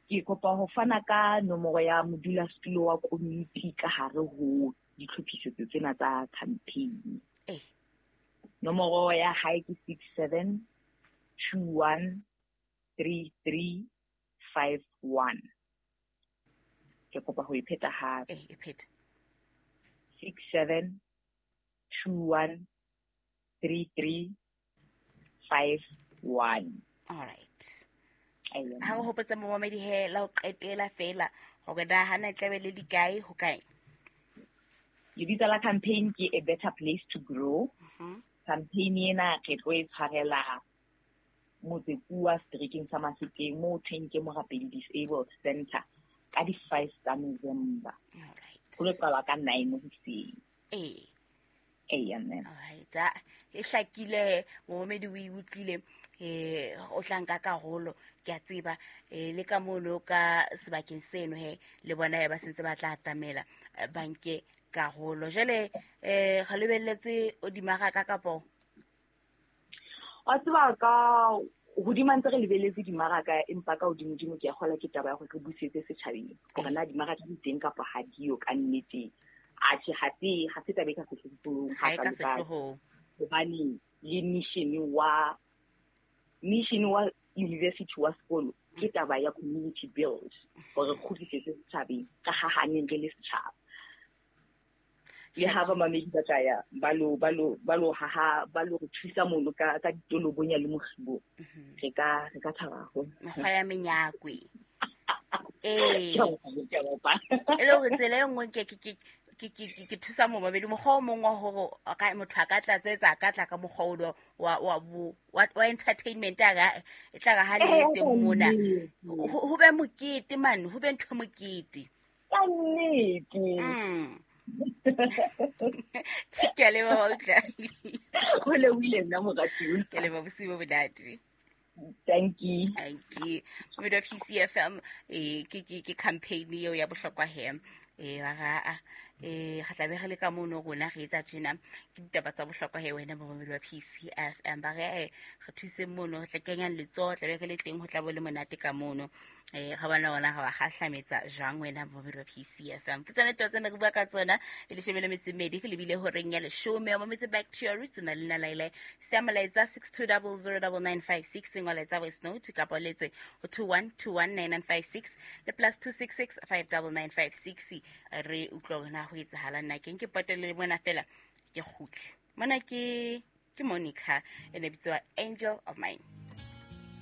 Ke kopa ho fana ka nomoro ya modulasetulo wa komiti ka hare ho ditlhophisetso tsena tsa campaign. Nomoro ya hae ke 67213351. Ke kopa ho e pheta hape. E pheta. 67213351. All right. Ha o hopotsa momamedi he la ho qetela fela hore na hana tlabe le dikae ho kae. Lebitso la campaign ke A Better Place to Grow. Campaign ena re tlo e tshwarela Motsekuwa seterekeng sa Mafikeng moo thweng ke Morapedi Disabled Center ka di-5 tsa November. All right. Ho lo qalwa ka 9 hoseng. Eya, mme. All right. E hlakile momamedi o e utlwile, o tla nka karolo ke a tseba, le ka mono ka sebakeng seno he le bona he ba sentse ba tla atamela, ba nke karolo. Jwale, re lebelletse o dimaraka kapo? Wa tseba ka hodima ntse re lebelletse dimaraka, empa ka hodimo-dimo ke a kgolwa ke taba ya hore re busetse setjhabeng hore na dimaraka di teng kapa ha diyo ka nnete. Atjhe, ha se taba e ka sehlohlolong, Ha e ka ha ka sehlohlolong. Hobane le mission wa university wa sekolo ke taba ya community build, hore re kgutlisetse setjhabeng ka ha haneng re le setjhaba. Le ha ba mamedi ba tla ya, ba lo haha, ba lo re thusa mono ka ditolobonya le mokgibo. Re ka thaba haholo. Mekgwa ya menyakwe. Ee. Ke a bopa, ke a bopa. E le hore tsela e nngwe ke thusa momamedi, mokgwa o mong wa hore motho a ka tlatsetsa, a ka tla ka mokgwa o lo wa entertainment a ka, e tla re ha le teng mona. Ho be mokete mane, ho be ntho e mokete. Ka nnete. Ke a leboha, utlwa. Ho lebohile nna, moratuwa. Ke a leboha, bosiu bo monate. Thank you. Thank you. Momamedi wa PCFM, ke campaign eo ya bohlokwa he. Ba ra, re tla be re le ka mono rona re etsa tjena. Ke ditaba tsa bohlokwa he wena momamedi wa PCFM. Ba re, re thuseng mono, re tla kenyang letsoho, tla be re le teng, ho tla bo le monate ka mono. Ga bona ona ga wa gahlametsa jwang wena momamedi wa PCFM. Ke tsone taba tsena re bua ka tsona, e leshome le metso e mmedi, re lebile horeng ya leshome. O mametse Back to Your Roots, o na le nna Laila. Siya molaetsa six two double zero double nine five six, ngola etsa voice note kapa o letse ho two one two one nine nine five six le plus two six six five double nine five six. Re utlwa hore na ho etsahalang na. Ke nke potele le mona fela ke kgutle. Mona ke Monica, e ne bitswa Angel of Mine.